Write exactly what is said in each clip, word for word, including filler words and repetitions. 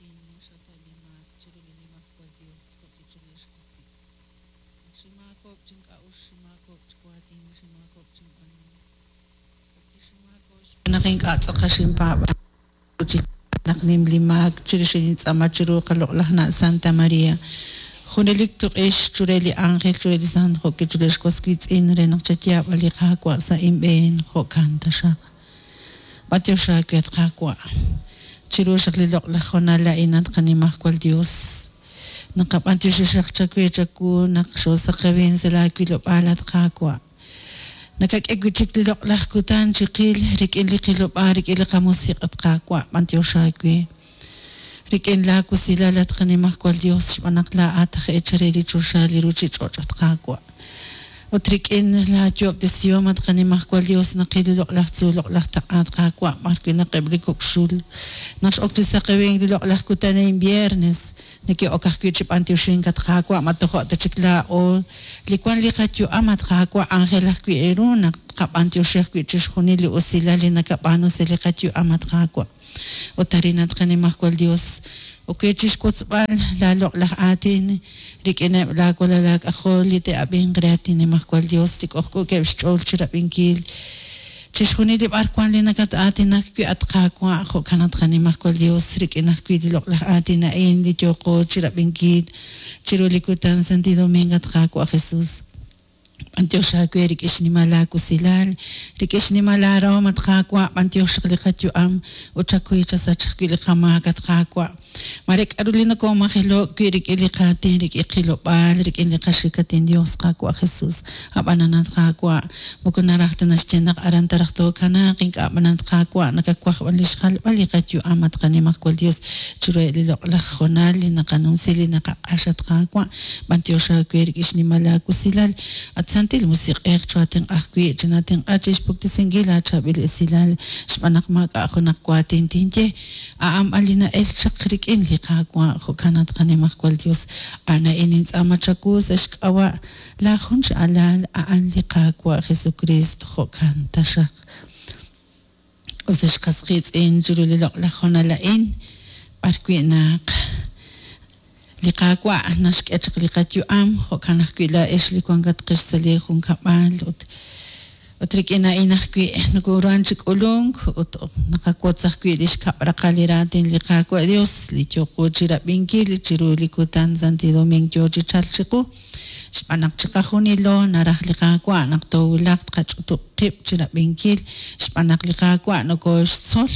Xataw li maak chiru li Nimajwal Yos jo'wi' chiru li xqas qiitz'in. Naq xinmaakob'k chink'a'uxl, xinmaakob'k chi waatin, xinmaakob'k chinb'aanuhom. Jo'wi' xinmaakob'k xb'aan naq ink'a' tz'aqal xinpaab'ank ut chi naq nim li maak chirix nintz'aama chiru qaloq'laj na' Santa Maria. Junelik tuq'ix chure li ángel chure li sant jo'wi' chiru li xwas wiitz'in re naq chayaab'a li Qaawa' sa' inb'een jo'kan taxaq. B'antiox aawe at Qaawa'. Chiru xaq li loq'laj honal a'in at qanimajwal Dios. Naqab'antioxi xaq chawe chawu naq xoosaqewin sa' laawilob'aal at Qaawa'. Nakak'e wi' chik li loq'laj kutan chiqil rik'in li qilob'aal rik'in li qamusiq' at Qaawa' b'antiox aawe. Rik'in laawusilal at qanimajwal Dios xb'aan naq laa'at aj eechal re li choxa li ruuchich'och' at Qaawa'. Ut rik'in laayoob'tesihom at qanimajwal Dios naqil li loq'laj tzuul loq'laj taq'a at Qaawa' b'ar wi' naq eb' li kok' xul naq x'ok chi saqewink li loq'laj kutan a'in viernes neke'ok ajwi' chi b'antioxink at Qaawa' ma tojo' ta chik laa'o li wan li qayu'am at Qaawa' ángel ajwi' eeru naq tqab'antioxi ajwi' chixjunil li usilal li nakab'aanu sa' li qayu'am at Qaawa'. Ut arin at qanimajwal Dios oke chixwotzb'al laaloq'laj aatin rik'ineb' laawalal aak'ajol li te'ab'inq re at Nimajwal Dios li k'ojk'ookeb' xch'ool chirab'inkil chixjunil li b'ar wan li nakat-aatinak wi' at Qaawa' jo'kan at qanimajwal Dios rik'in ajwi' li loq'laj aatin a'in li yooqo chirab'inkil chiru li kutan Santi Domingo at Qaawa' Jesus. B'antiox aawe rik'in xnimal aawusilal, rik'in xnimal aarahom at Qaawa', b'antiox xaq li qayu'am ut chakuy chasach ajwi' li qamaak at Qaawa'. Mare k'aru li nokomajelo'k wi' rik'in li qaatin, rik'in qilob'aal, rik'in li qaxikatin Dios Qaawa' Jesus. Ab'anan at Qaawa', moko naraj ta naxye naq aran taraj tookanaaq, ink'a' b'an at Qaawa' nakawaj b'an li xjalb'al li qayu'am at qanimajwal Dios chiruheb' li loq'laj honal li naqanumsi li naqaq'ax at Qaawa', b'antiox aawe rik'in xnimal aawusilal. At Santil Musiq'ej chootenq'a ajwi' chinatenq'a chixpuktesinkil aachaab'il esilal xb'aan naq maak'a' junaq waatin tinye a'an b'an li na'el chaq rik'in li Qaawa' jo'kan at qanimajwal Dios a'an a'in nintz'aama chawu sa' xk'ab'a' laajun x'alal a'an li Qaawa' Jesucristo jo'kan taxaq. Ut sa' xqas qiitz'in chiru li loq'laj honal a'in b'ar wi' naq li Qaawa' naxk'e chaq li qayu'am jo'kan ajwi' laa'ex li wankatqex sa' li junkab'al ut ut rik'in a'in ajwi' nokoruhan chi k'ulunk ut naqawotz ajwi' li xkab' raqal li raatin li Qaawa' Dios li yooqo chirab'inkil chiru li kutan Santi Domingo yoo chi chalk chiqu xb'aan naq chiqajunilo naraj li Qaawa' naq toowulaq tqach'utub' qib' chirab'inkil xb'aan naq li Qaawa' nokooxtzol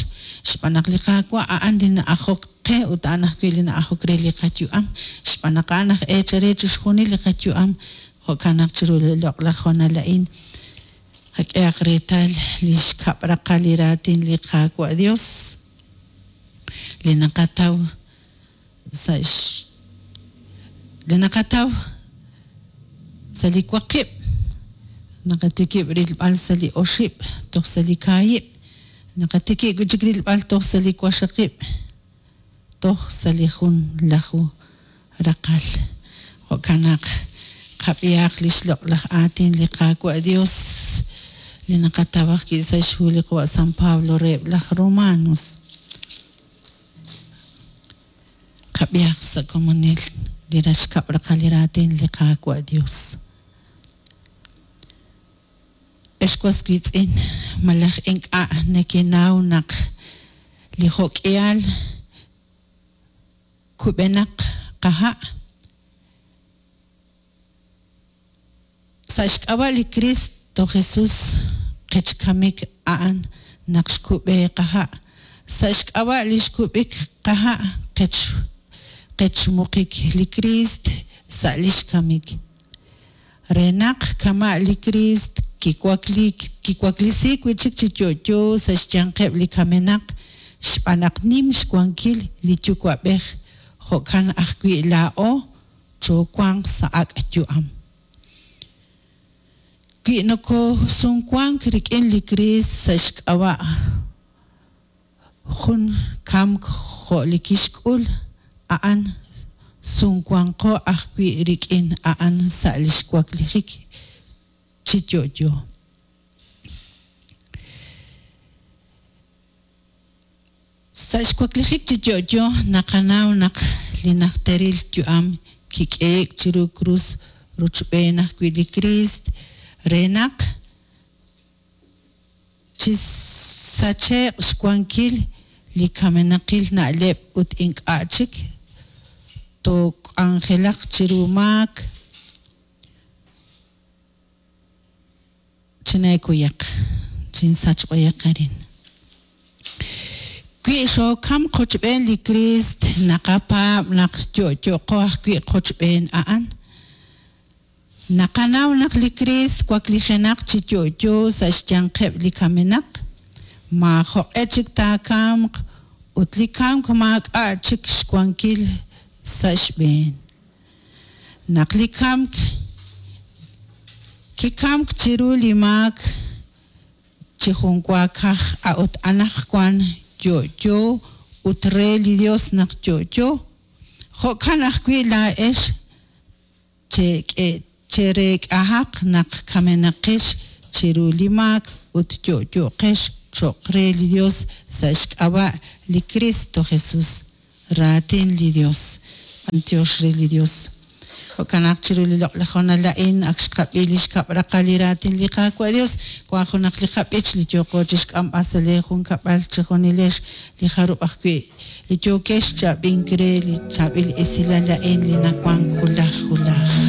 xb'aan naq li Qaawa' a'an li na'ajok qe ut a'an ajwi' li na'ajok re li qayu'am xb'aan naq a'an aj eechal re chixjunil li qayu'am jo'kan naq chiru li loq'laj honal a'in qak'ehaq reetal li xkab' raqal li raatin li Qaawa' Dios li naqataw sa' li naqataw sa' li waqib' naqatikib' rilb'al sa' li oxib' toj sa' li kaahib' naqatikib' wi' chik rilb'al toj sa' li waxaqib' toj sa' li jun laju raqal jo'kan naq qab'ihaq li xloq'laj aatin li Qaawa' Dios li naqataw ajwi' sa' xhu li qawa' San Pablo reheb' laj Romanos. Qab'ihaq sa' komonil li raxkab' raqal li raatin li Qaawa' Dios. Ex was wiitz'in malaj ink'a' nekenaw naq li jo'k'ihal kub'enaq qaha' sa' xk'ab'a' li Cristo Jesus qechkamik a'an naq xkub'e qaha' sa' xk'ab'a' li xkub'ik qaha' qech qechmuqik li Criist sa' li xkamik. Re naq kama' li Kriist kiwakliik kiwaklisiik wi' chik chi yo'yo sa' xyanqeb' li kamenaq xb'aan naq nim xwankil li Yuwa'b'ej jo'kan ajwi' laa'o choowanq sa' ak' yu'am. Wi nokoosumwank rik'in li Kriist sa' xk'ab'a' jun kamk jo' li kixk'ul a'an sumwanqo ajwi' rik'in a'an sa' li xwaklijik chi yo'yo. Sa' xwaklijik chi yo'yo naqanaw naq li najteril yu'am kik'ehe'k chiru krus rochb'een ajwi' li Kriist re naq chisache'q xwankil li kamenaqil na'leb' ut ink'a' chik took'anjelaq chiru maak. Chineekuyaq, chinsach b'ayaq arin. Wi xookamk qochb'een li Kriist, naqapaab' naq yo'yoqo ajwi' qochb'een a'an. Naqanaw naq li Kriist waklijenaq chi yo'yo sa' xyanqeb' li kamenaq, maajoq'e chik taakamq ut li kamk maak'a' chik xwankil sa' xb'een. Naq li kamk kikamk chiru li maak chi junwaakaj, a'ut anaqwan yo'yo ut re li Yos naq yo'yo, jo'kan ajwi' laa'ex chereek'ahaq naq kamenaqex chiru li maak ut yo'yoqex cho'q re li Yos sa' xk'ab'a' li Kristo Jesús. Raatin li Yos. B'anyox re li Yos. Jo'kan naq chiru li loq'laj honal a'in ak xqab'i li xkab' raqal li raatin li Qaawa' Dios, wank junaq li qab'ich li yooqo chi xk'amb'al sa' lee junkab'al chejunilex li jarub' ajwi' li yookex chi ab'ink re li chaab'il esilal a'in li nawank wulaj wulaj.